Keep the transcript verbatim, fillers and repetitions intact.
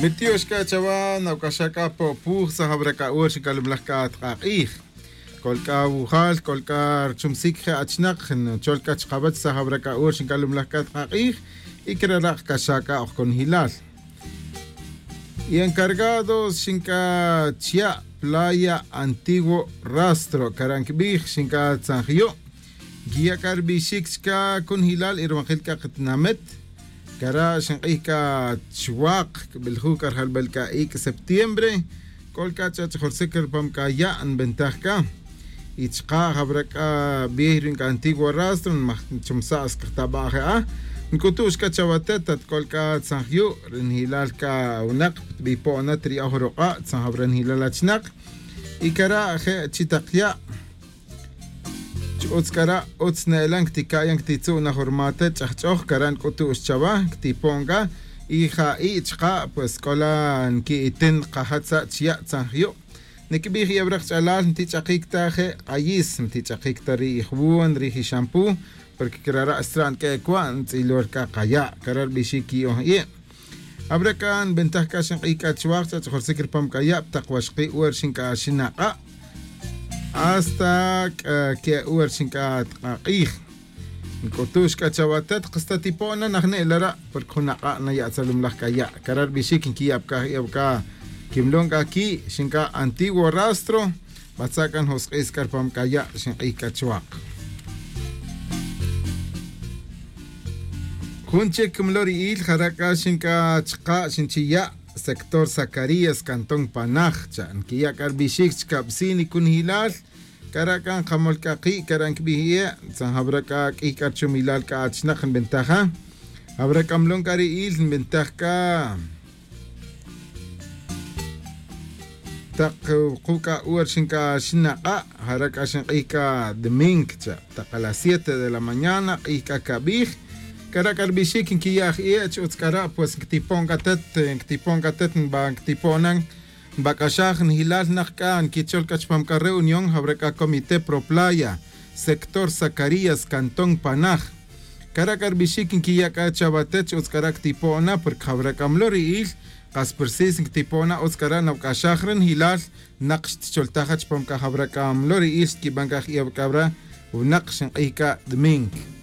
Mitiox c'a chawa nawc'axa c'a po'puj sa' jawra c'a hora xinc'alumlaj c'a tk'ak'ij. C'ol c'a wujal c'ol c'a ruchumsic je' achinak nchol c'a chkawech sa' jawra c'a hora xinc'alumlaj c'a tk'ak'ij. Y crara' kc'axa c'a oj conjilal. Y encargados xinc'a chya' playa antiguo rastro cara' ncbij xinc'a tzanjyu'. Nquiya' c'a rbixic chca cunjilal y rumakil c'a katinamit. Cara' xink'ij c'a chwak cbeljuj c'a rjalbel c'a ic' septiembre. C'ol c'a ch'ach'jorsic rupam c'a ya' nbentaj c'a. Y chka' jawra c'a biey ri c'a antiguo rastro nmajchumsa'scajtaba' je'a. Nc'utu'x c'a chawatet at c'ol c'a tzanjyu' ri njilal c'a winak ptbipo'na triya'oj ruk'a' tzanjawra njilal achinak. Y cara' je' chi tak ya'. Chi utz c'ara' utz ne'elan ctica'yan ctitzu' na jurmate ch'ajch'oj cara' nc'utu'x chawa ctipo'n c'a. Y ja'i' chka' pues c'ola nqui'itin kajatza' chi ya' tzanjyu'. Niquibij iyeb rek ch'alal ntich'akic ta je' k'ayis ntich'akic ta ri ijwun ri ixampú. Porque crara' xtra' nq'ue' cua' ntz'ilor c'a kaya' cara' rbixic qui'on i'. Abra c'a nbentaj c'a xink'ij c'a chuaj ch'ach'jorsic rupam c'a ya' pa tak waxki' wer xinc'axin ak'a'. Hasta c'a que'e wer xinc'a' tk'ak'ij. Nc'utux c'a chawatet kasta tipo'na najne'el ara' porque jun ak'a' nayatzalumlaj c'a ya' cara' rbixic nquiya' pa c'a je'e pa c'a quimlon c'a qui' xinc'a' antiguo rastro. Batza' c'a njosk'is c'a rupam c'a ya' xink'ij c'a chuak. Jun chic mlo ri'il jara' c'a xinc'a' chka' xinchiya' sector zacarías cantón panaj cha' nquiya' c'a rbixic chicabsi' nicunjilal. Cara' c'a nkamol c'a ki' cara' ncbij ie' tzan jawra c'a q'uiy c'a ruchumilal c'a achinak nbentaja. Jawra c'a mlon c'a ri'il nbentaj c'a tak wuku' c'a wer xinc'a xinak'a' jara' c'a xink'ij c'a domingo cha' tak a las siete de la mañana q'ij c'a cabij. Cara' c'a rbixic nquiya' aj ie' chi utz c'ara' pues nctipon c'a tet nctipon c'a tet nba nctipo'na nbac'axaj njilal nak c'a nquichol c'a chupam c'a reunión jawra c'a comité pro playa sector zacarías cantón panaj. Cara' c'a rbixic nquiya' c'a chawatet chi utz c'ara' ctipo'na porque jawra c'a mlo ri'il kas persis nctipo'na utz c'ara' nawc'axaj re njilal. Nak xtcholtaja chupam c'a jawra c'a mlo ri'il xtquiban c'a je'e pa c'a wra winak xink'ij c'a domingo.